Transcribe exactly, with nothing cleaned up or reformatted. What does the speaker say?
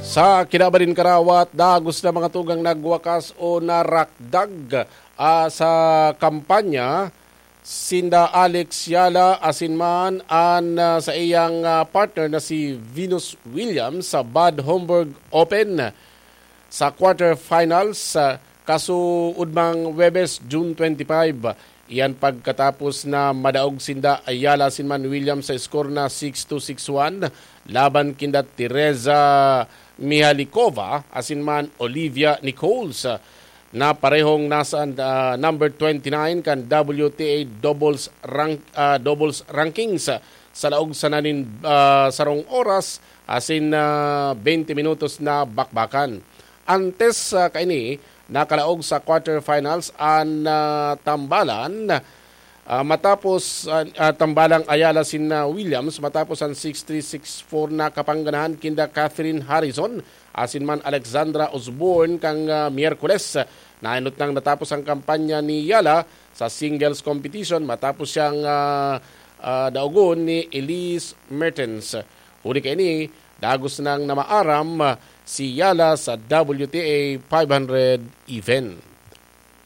Sa kinabaling karawat, dagos na mga tugang nagwakas o narakdag, ah, sa kampanya sinda Alex Yala asin man an, ah, sa iyang, ah, partner na si Venus Williams sa Bad Homburg Open. Sa quarterfinals, ah, kasuodmang Huwebes, June twenty-five, iyan pagkatapos na madaog sinda Ayala asin man Williams sa score na six two, six one laban kinda Teresa Mihalikova asin man Olivia Nichols, ah, na parehong nasa, ah, number twenty-nine kan W T A doubles rank-, ah, doubles rankings, ah, sa laog sana nin, ah, sarong oras asin, ah, twenty minutos na bakbakan. Antes, ah, kaini, nakalaog sa quarterfinals an, ah, tambalan, ah, matapos, ah, ah, tambalang Ayala sin, ah, Williams matapos an six three, six four na kapangganahan kinda Catherine Harrison asin man Alexandra Osborne kan, ah, Miyerkules. Nainot nang natapos ang kampanya ni Yala sa singles competition matapos siyang, ah, ah, daogon ni Elise Mertens. Huli kaini, dagos nang namaaram, ah, si Yala sa W T A five hundred event.